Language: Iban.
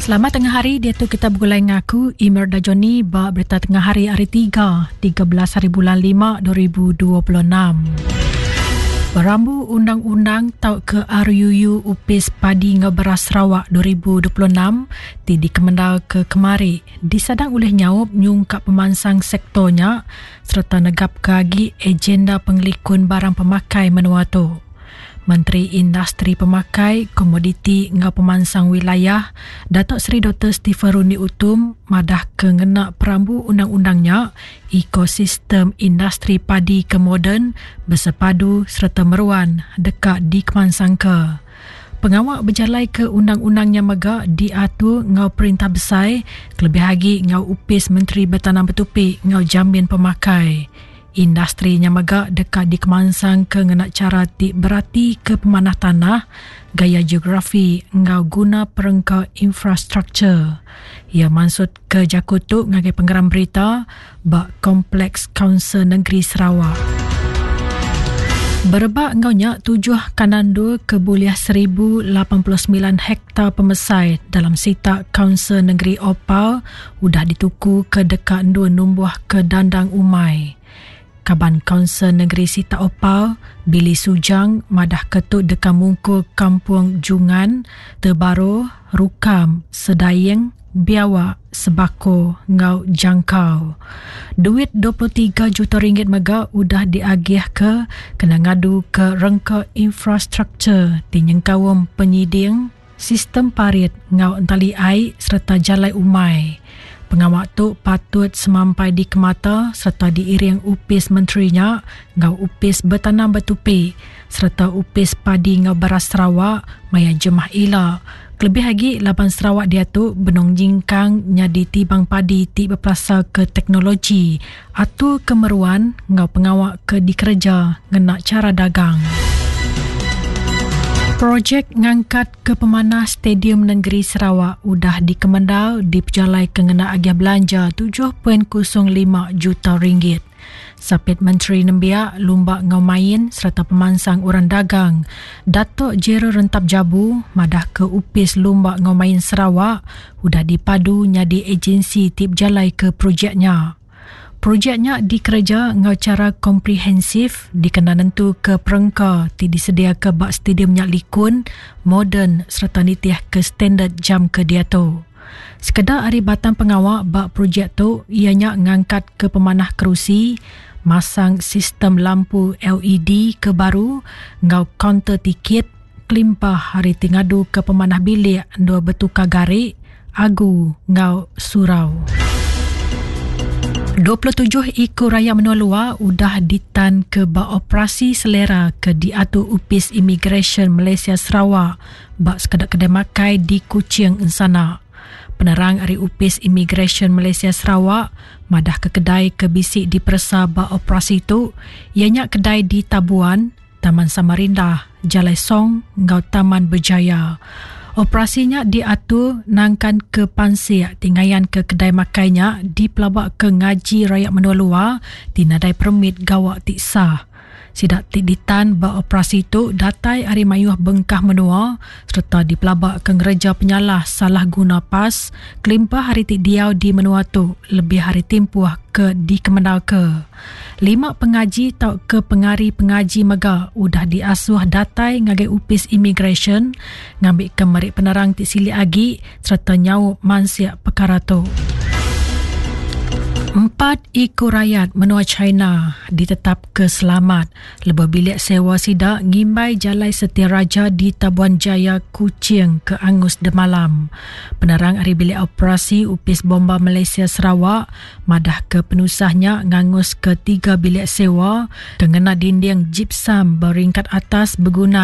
Selamat tengah hari diatu kita begulai ngaku Imerda Johnny ba berita tengah hari hari 3 13 hari bulan 5 2026. Perambu Undang-Undang tauka RUU Upis Padi enggau Beras Sarawak 2026 ti dikemendar ke kemari disadang ulih nyaup nyungkak pemansang sektor nya sereta negapka agi agenda pengelikun barang pemakai menua tu. Menteri Industri Pemakai, Komoditi enggau Pemansang Wilayah, Datuk Seri Doktor Stephen Rundi Utum madahka ngena perambu undang-undang nya, ekosistem industri padi ke moden, besepadu sereta meruan deka dikemansangka. Pengawa bejalaika undang-undang nya mega diatur enggau perintah besai kelebih agi enggau Opis Menteri Betanam Betupi enggau Jamin Pemakai. Industri nya mega deka dikemansangka ngena chara ti beratika pemanah tanah, gaya geografi enggau guna perengka infrastruktur. Iya mansutka jaku tu ngagai pengeram berita ba Kompleks Kaunsil Nengeri Sarawak. Berebak enggau nya, tujuh kandang endur ke bulih 1089 hektar pemesai dalam sitak Kaunsil Nengeri Opar udah dituku ke deka endur numbuhka dandang umai. Kaban Kaunsil Nengeri Sitak Opar, Billy Sujang madahka tu deka mungkur Kampung Jungan, Tebaroh, Rukam, Sedaing, Biawak, Sebako enggau Jangkau. Duit 23 juta ringgit mega udah diagihka kena ngaduka rengka infrastruktur ti nyengkaum penyiding, sistem parit enggau entali ai sereta jalai umai. Pengawa tu patut semampai dikemata sereta diiring opis menteri nya enggau Opis Betanam Betupi sereta Opis Padi enggau Beras Sarawak maya jemah ila kelebih agi laban Sarawak diatu benung nyingkang nyadi tibang padi ti bepelasarka teknologi, atur ke meruan enggau pengawa ke dikereja ngena chara dagang. Projek ngangkatka pemanah Stadium Nengeri Sarawak udah dikemendar dipejalaika ngena agih belanja 7.05 juta ringgit. Sapit Menteri Nembiak, Lumba enggau Main sereta Pemansang Orang Dagang, Datuk Gerald Rentap Jabu madahka Opis Lumba enggau Main Sarawak udah dipadu nyadi ejensi ti bejalaika projek nya. Projek nya dikereja enggau chara komprehensif dikena nentuka perengka ti disediaka ba stadium nya likun, moden sereta nitihka standard jam ke diatu. Sekeda ari batang pengawa ba projek tu iya nya ngangkatka pemanah kerusi, masang sistem lampu LED ke baru enggau kaunter tikit kelimpah ari ti ngaduka pemanah bilik endur betukar gari, agu enggau surau. 27 iku rayat menua luar udah ditanka ba operasi selera ke diatur Opis Imigresen Malaysia Sarawak ba sekeda kedai makai di Kuching ensana. Penerang ari Opis Imigresen Malaysia Sarawak madahka kedai ke bisi diperesa ba operasi tu iya nya kedai di Tabuan, Taman Samarindah, Jalai Song enggau Taman Berjaya. Operasi nya diatur nangkan ke pansik ti ngayanka kedai makai nya dipelabaka ngaji rayat menua luar ti nadai permit gawa ti sah. Sida ti ditan ba operasi tu datai ari mayuh bengkah menua sereta dipelabaka ngereja penyalah salah guna pas kelimpah ari ti diau di menua tu lebih ari timpuh ke dikemendarka. Lima pengaji tauka pengari pengaji mega udah diasuh datai ngagai opis imigresen ngambika meri penerang ti silik agi sereta nyaup mansik pekara tu. Empat iku rayat menua China ditetapka selamat lebuh bilik sewa sida ngimbai Jalai Setia Raja di Tabuan Jaya, Kuching ke angus demalam. Penerang ari Bilik Operasi Opis Bomba Malaysia Sarawak madahka penusah nya nganguska tiga bilik sewa ke ngena dinding gypsum ba ringkat atas begunan.